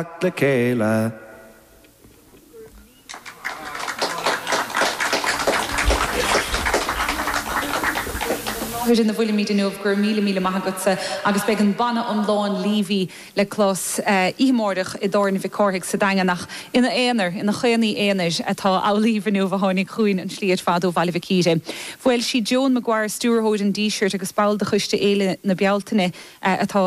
Le chéile. Láthair ina bhfuilimid inniu, go raibh míle míle maith agatsa agus beidh an banna iomlán Leavey le clos oíche amárach i dTábhairne Mhic Cárthaigh sa Daingean ach ina aonar, ina chaonaí aonair atá Amhlaoibh inniu a tháinig chugainn an slí ar fad ó Bhaile Mhic Íre. Bhuel, sí Joan Maguire, stiúrthóir an Dísirt agus ball de choiste Fhéile na Bealtaine atá.